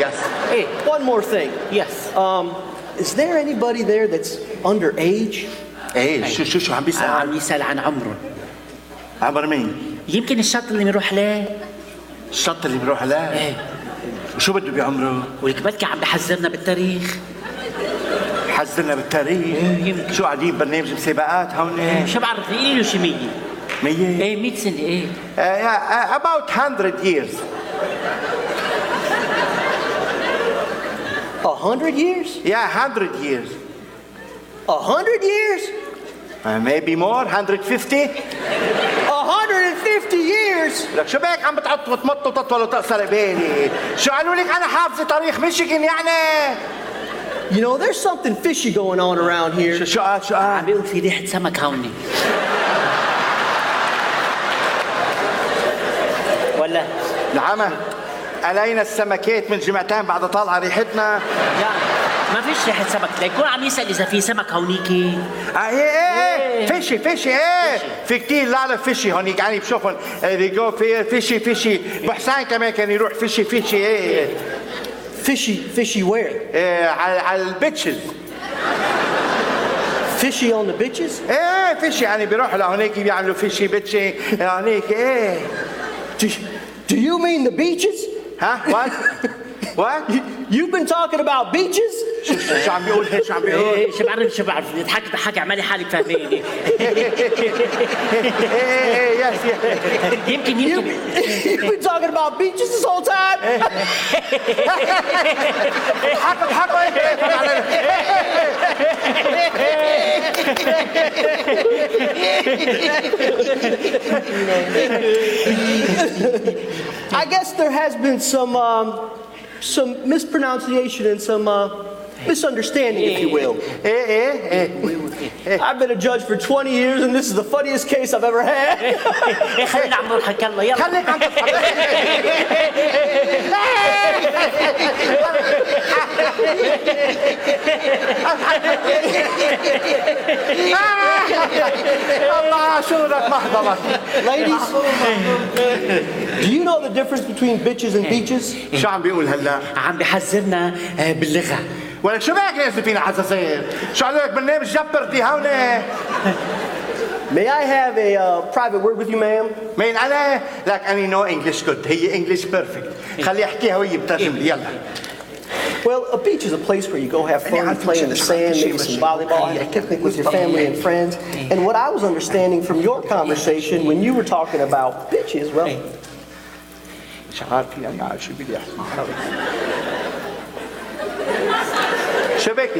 yes. ايه One more thing. يس. Is there anybody there that's underage? ايه شو عم بيسأل؟ عم يسأل عن عمره. عمر مين؟ يمكن الشط اللي بنروح له. الشط اللي بروح له؟ ايه وشو بده بعمره؟ ولك بلكي عم بحذرنا بالتاريخ. حذرنا بالتاريخ؟ يمكن. شو قاعدين برنامج مسابقات هون؟ شو بعرف قولي له شي 100. 100؟ ايه 100 سنة ايه. about 100 years. 100 years? Yeah, 100 years. 100 years? Maybe more, 150. 150 years? لك شو بك عم بتعط وتمط وتطول وتقصر بالي؟ شو قالوا لك أنا حافظة تاريخ ميشيغان يعني؟ You know, there's something fishy going on around here. شو قال؟ عم بيقول في ريحة سمك هوني. ولا نعم علينا السمكات من جمعتين بعد طالعة ريحتنا. لا ما فيش ريحة سمك، ليكون عم يسأل إذا في سمك هونيكي. ايه فيشي ايه في كتير لا فيشي هونيك يعني بشوفهم they go فيشي بحسان كمان كان يروح فيشي ايه Fishy where? ايه على البيتشز. Fishy on the bitches? ايه فيشي يعني بيروحوا لهونيك بيعملوا فيشي بيتشي هونيك ايه. Do you mean the beaches? ها what You've been talking about beaches? شو عم بيقول هيك شو عم بيقول؟ إيه شو بعرف نضحك اعملي حالك فاهميني. ايه يس يمكن You've been talking about beaches this whole time? اضحكوا I guess there has been some mispronunciation and some misunderstanding, if you will. I've been a judge for 20 years, and this is the funniest case I've ever had. خلينا عم نضحك يلا يلا. خليك عم تضحك. الله شو بدك محضرك. Ladies, do you know the difference between bitches and beaches? شو عم بيقول هلا؟ عم بحذرنا باللغة. ولك شو بك نازل فينا حساسية؟ شو قالوا لك برنامج جبرتي هون؟ May I have a private word with you, ma'am? مين أنا؟ لك أنا نو إنجلش جود، هي إنجلش بيرفكت. خلي يحكيها وهي بترجم لي يلا. Well, a beach is a place where you go have fun, play in the sand, maybe some volleyball, have a picnic with your family and friends. And what I was understanding from your conversation when you were talking about bitches, well, مش عارف يعني شو بدي أحكي.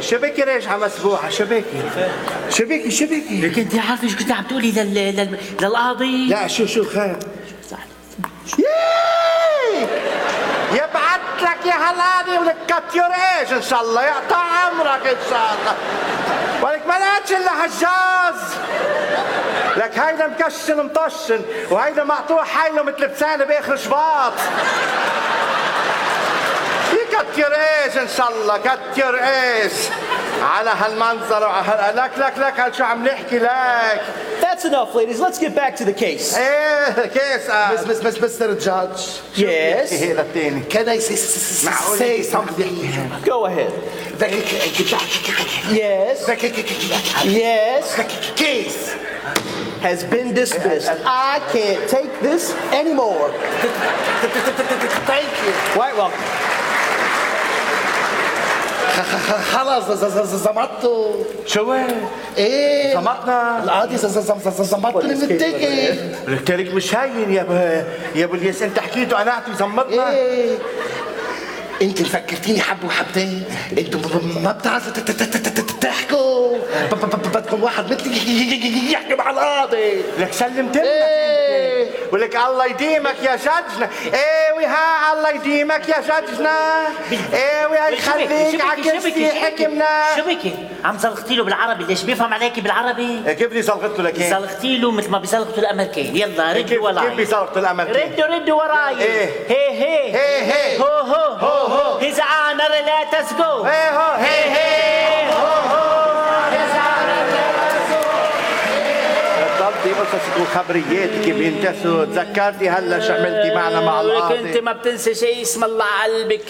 شبكي راجعة مسبوحة شبكي لكن انت عارفه شو كنت عم تقولي للقاضي؟ لا شو خير يبعت لك يا هالقاضي ولك كتير ايش ان شاء الله يقطع عمرك ان شاء الله ولك ما لقيتش الا هالجاز لك هيدا مكشن مطشن وهيدا مقطوع حيله مثل بسانه باخر شباط كتير ايش ان شاء الله كتير ايش على هالمنظر لك هل شو عم نحكي لك. That's enough, ladies. Let's get back to the case. ايه كيس Mr. Judge. Yes. هي الثاني Can I say something? Go ahead. Yes. Yes. Case Has been dismissed. I can't take this anymore. Thank you. Quite welcome. خلاص زمطوا شو ايه زمطنا القاضي زمطني من التيكت. التاريخ مش هين يا ابو الياس انت حكيته انا اعطي زمطنا ايه انت فكرتيني حبه وحبتين انتوا ما بتعرفوا تحكوا بدكم واحد مثلي يحكي مع القاضي. لك سلمت لك ايه ولك الله يديمك يا جدنا ايه ها الله يديمك يا جدنا ايه ويخليك عكستي حكمنا. شو بكي؟ عم زلقتي له بالعربي، ليش بيفهم عليكي بالعربي؟ كيف بدي زلقت له لك ايه؟ زلقتي له مثل ما بيزلقتوا الامريكان. يلا ردوا وراي. كيف بيزلقتوا الامريكان؟ ردوا وراي. ايه هي هو His honor let us go. ايه هو هي هو His honor let us go. ضلتي قصصك وخبرياتك بينتسوا تذكرتي هلا شو عملتي معنا مع القاضي. انت ما بتنسى شيء اسم الله على قلبك.